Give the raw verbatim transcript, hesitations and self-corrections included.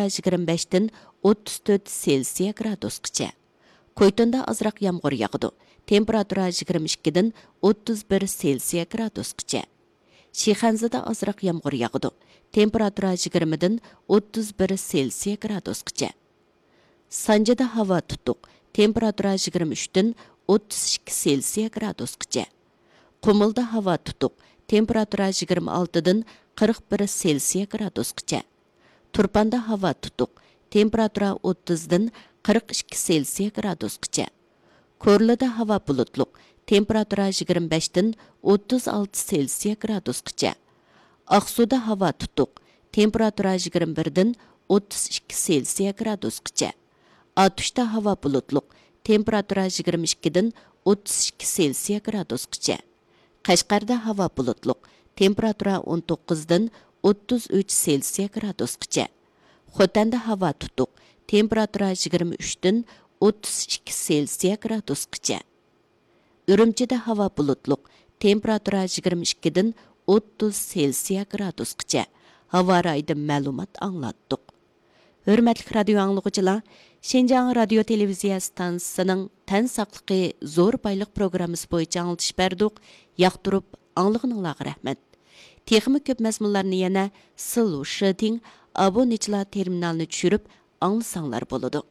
يىگىرمە بەشتىن ئوتتۇز تۆت سېلسىيە گرادۇسقىچە. كويتوندا ئازراق يامغۇر ياغىدۇ. تېمپېراتۇرا يىگىرمە ئىككىدىن ئوتتۇز بىر سېلسىيە گرادۇسقىچە. شىخەنزىدە ئازراق يامغۇر ياغىدۇ. تېمپېراتۇرا يىگىرمىدىن ئوتتۇز بىر سېلسىيە گرادۇسقىچە. سانجىدا ھاۋا تۇتۇق. تېمپېراتۇرا يىگىرمە ئۈچتىن ئوتتۇز ئىككى سېلسىيە گرادۇسقىچە. قۇمۇلدا ھاۋا تۇتۇق. تېمپېراتۇرا يىگىرمە ئالتىدىن قىرىق بىر سېلسىيە گرادۇسقىچە. تۇرپاندا ھاۋا تۇتۇق. تېمپېراتۇرا ئوتتۇزدىن قىرىق ئىككى سېلسىيە گرادۇسقىچە. كورلىدا ھاۋا بۇلۇتلۇق. تېمپېراتۇرا يىگىرمە بەشتىن ئوتتۇز ئالتە سېلسىيە گرادۇسقىچە. ئاقسۇدا ھاۋا تۇتۇق. تېمپېراتۇرا يىگىرمە بىردىن ئوتتۇز ئىككى سېلسىيە گرادۇسقىچە. ئاتۇشتا ھاۋا بۇلۇتلۇق. تېمپېراتۇرا يىگىرمە ئىككىدىن ئوتتۇز ئىككى سېلسىيە گرادۇسقىچە. قەشقەردە ھاۋا بۇلۇتلۇق. تېمپېراتۇرا ئون توققۇزدىن ئوتتۇز ئۈچ سېلسىيە گرادۇسقىچە. خوتەندە ھاۋا تۇتۇق. تېمپېراتۇرا يىگىرمە ئۈچتىن ئوتتۇز ئىككى سېلسىيە گرادۇسقىچە. ئۈرۈمچىدە ھاۋا بۇلۇتلۇق. تېمپېراتۇرا يىگىرمە ئىككىدىن ئوتتۇز سېلسىيە گرادۇسقىچە. ھاۋا رايىدىن مەلۇمات ئاڭلاتتۇق. ھۆرمەتلىك رادىيو ئاڭلىغۇچىلار، شىنجاڭ رادىيو تېلېۋىزىيە ئىستانسىسىنىڭ تەن ساقلىقى زور بايلىق پروگراممىسى بويىچە ئاڭلىتىش بەردۇق. ياقتۇرۇپ ئاڭلىغىنىڭلارغا رەھمەت. تېخىمۇ كۆپ مەزمۇنلارنى يەنە سىلۇ شىتىڭ ئابۇنىچىلار تېرمىنالىنى چۈشۈرۈپ ئاڭلىساڭلار بولىدۇ.